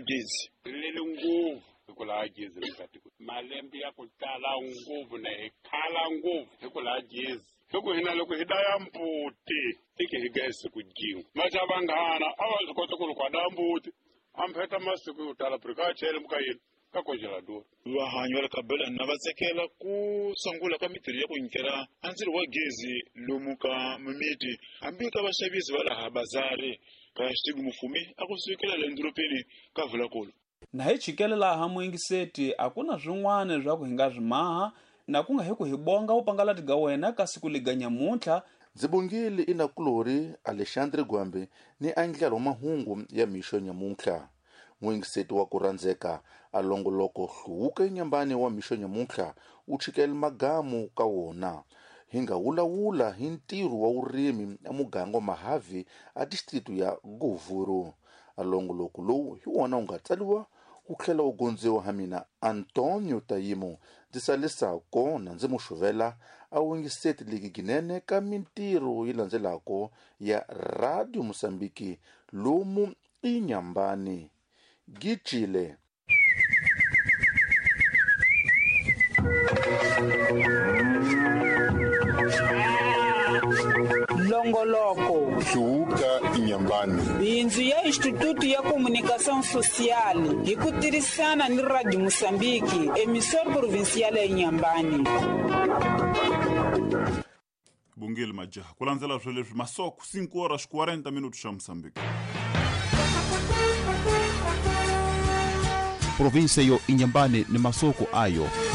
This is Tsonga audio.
wa gezi. Rilele ngopfu hi ku laha gezi ri nga tiko malembe ya ku tala ngopfu na hi khala ngopfu hi ku laha gezi hi ku hina loko hi daya mbuti tike hi gaya siku jin'we maxa vanghana a va swi kota ku loko a daya mbuti a mpheta masiku yo tala buri ka chele muka yini ka congelador. Vahanyi va le ka Belana va tsekela ku sungula ka mitirho ya ku nyikela a ndzilo wa gezi lomu ka mimiti hambi ka vaxavisi va laha bazari ka Xitigu Mufumi a ku sukela le ndorobeni ka Vulakulu. Na hi chikele laha muyingiseti a ku na swin'wana swa ku hi nga swi maha na ku nga hi ku hi bonga vupangalati ga wena ka siku liga nyamuntlha. Ndzi bongile inakulori Alexandre Gwambe ni andlalo wa mahungu ya mixo nyamuntlha. Muyingiseti wa ku rhandzeka a longoloko hluvuka enyambani wa mixo nyamuntlha wu chikele magamu ka wona. Hi nga wulawula hi ntirho wa vurimi emuganga wa Mahavi a district ya Govuro. A longoloko lowu hi wona wu nga tsariwa wu tlhela wu gondziwa ha mina Antonio Tayimo ndzi salisa kona ndzi muxuvela a wingiseti ligi ginene ka mintirho yi landzelako ya Radio Mosambiki lomu inyambani gicile. Longoloko Hluvuka Inyambani. Bindzu ya Instituto ya Comunicação Social hi ku tirhisana ni Radio Mosambiki, emissor provincial ya Inyambani. Bongile majaha ku landzela swo leswi masoko 5 horas 40 minutos xa Moçambique. Província yo Inhambane ni masoko ayo.